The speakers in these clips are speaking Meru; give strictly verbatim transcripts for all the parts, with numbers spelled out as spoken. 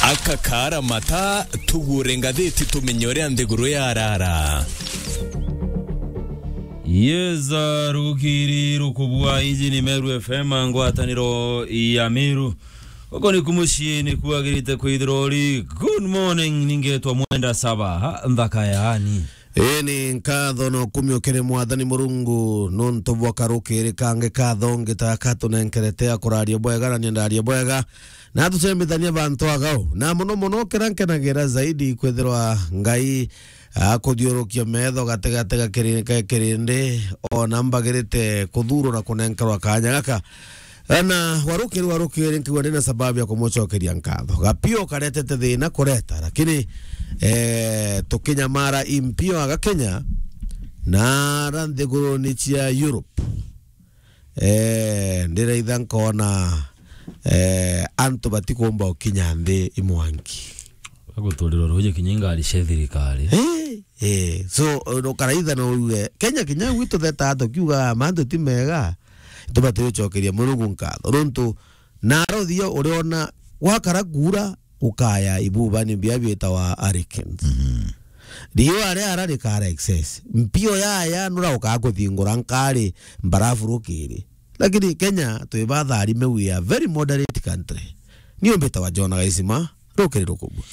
Aka kaara mata, tugure ngathiti tumenye uria nthiguru yarara. Yeza rukiri rukubua, iji ni Meru F M, ngwataniro ya Meru. Uko ni kumucii ni kuagirite kwithirwa uri. Good morning, ningetwa Mwenda Saba, ha, nthaka yaani. Ii ni nkatho na ukumio kiri Mwathani Murungu, nontu bwa karukiri kangi katho ngitaka tunenkerete ya kuraria bwega na niendaria bwega. Na tucemithania bantu agau. Na muno muno kira nkenagira zaidi kwithirwa Ngai akuthiurukia metho gatigati ga kiri-, ga kirindi, ona mbagirite kuthurwa na kunenkerwa kanya gaka. Na warukiri, warukiri, nkigua ndina sababu ya kumucokeria nkatho. Gapio karetete thina kureta, lakini, eh, tukinyamara impio aga Kenya na ara nthiguruni cia Europe. Eh, ndiraitha nkona, eh, antu batikumba ukinya nthi imwanki. Aguturira ruuji kinya ingari cia thirikari. Eh, eh. So, ukaraitha no uge, Kenya kinya gwitu theta tukiuga mantu ti mega, tubati gucokeria Murungu nkatho. Nontu, na arothia uriona gwakara kuura, gukaya ibubani bia biitawa hurricanes. Mhm. Riua riara rikara excess. Mpio yaya nurauka kuthingura nkari mbarafu rukiri. Lakini Kenya twi batharime, we are very moderate country. Ni umbitawa John Gaisima, rukiri rukubua.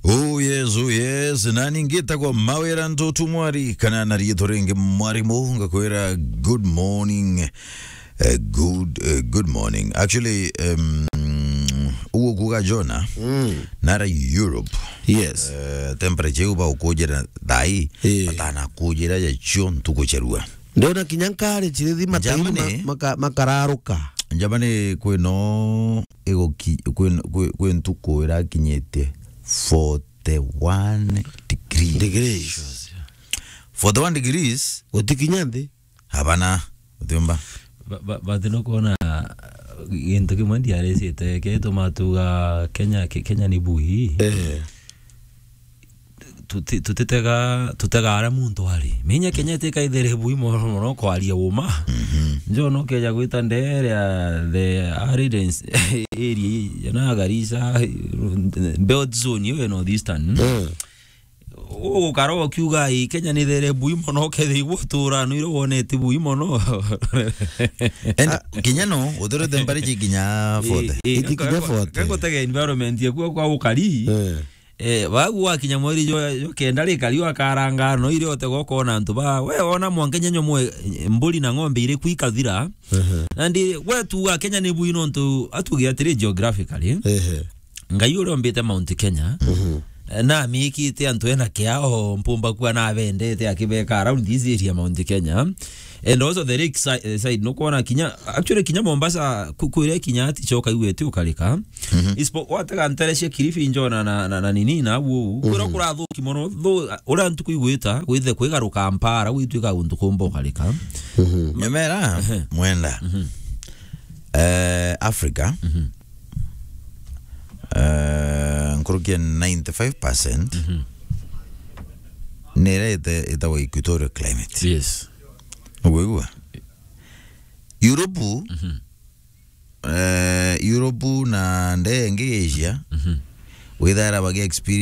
Oh yes, oh yes. Nani ngitagwa Mawira Ntutu Mwari, kana na riitwa ringi Mwarimu, ngakwira good morning. Eh, good, eh, good morning. Actually, um, uguo kuuga Jona, mm, nara Europe. Yes. Eh, temperature iu baukujira thai, eh, batanakujira ya cio ntuku cia rua. Ndiona kinya nkari chirithi matairu ma-, Germany, maka-, makararuka. Germany kwino iguki-, kwin-, kwi, kwi ntuku irakinyite forty-one degrees. Degrees. Forty-one degrees. Gutikinya nthi. Abana, utiumba. Ba-, ba-, but nukwona gintu kimwe ndiarecite, kirituma tuga Kenya, Ke-, Kenya ni bui. Eh. Tuti-, tutitega, tutega aria muntu ari. Minya Kenya itikaithere bui mono mono kwaria uma. Mhm. Njo no keja gwita ndere ya the Aridens area, ya na Garissa, Belt Zone, iyo ya North Eastern. Eh. Ugukara ukiuga, "Ii, Kenya ni there bui mono, ukethirwa utura nwire wonete bui mono." And kinya no, uturite mbari ji kinya forty. Ii, ii, iti kinya forty. Gakutega environment yaku kwa ukari. Eh. Eh, wagu wakinya mweri jo, jo kenda rikari wakaranga no ire utega ukona antu ba, we ona mwanka nyenyo mwe, mburi na ng'ombe iri kwikathira. Ehe. Na ndi, we tuga Kenya ni bui nontu atuge atiri geographically. Ehe. Ngai uria ombite Mount Kenya, mhm, eh, na amikite antu ena kiao, mpumba kuwa na abendete akibeka around this area, Mount Kenya. And also the lake si-, eh, side, nukwona kinya, actually kinya Mombasa, ku-, kwire kinya ati choka iwe ti ukarika. Mhm. Ispo-, watega ntere cia Kilifi njona na, na, na nini na uu, kwira, mhm, kurathuki mono, tho-, uria ntuku igwita, gwithe kwigaruka mpara, gwitwika guntu kumba ukarika. Mhm. Nyamera, ehe, Mwenda. Mhm. Eh, Africa. Mhm. Eh, nkuruki ya ninety-five percent, mhm, nirete itagwa equatorial climate. Yes. Ugwigua? Europe, mhm, eh, Europe na ndee ingi ya Asia, mhm, withaira bagi experience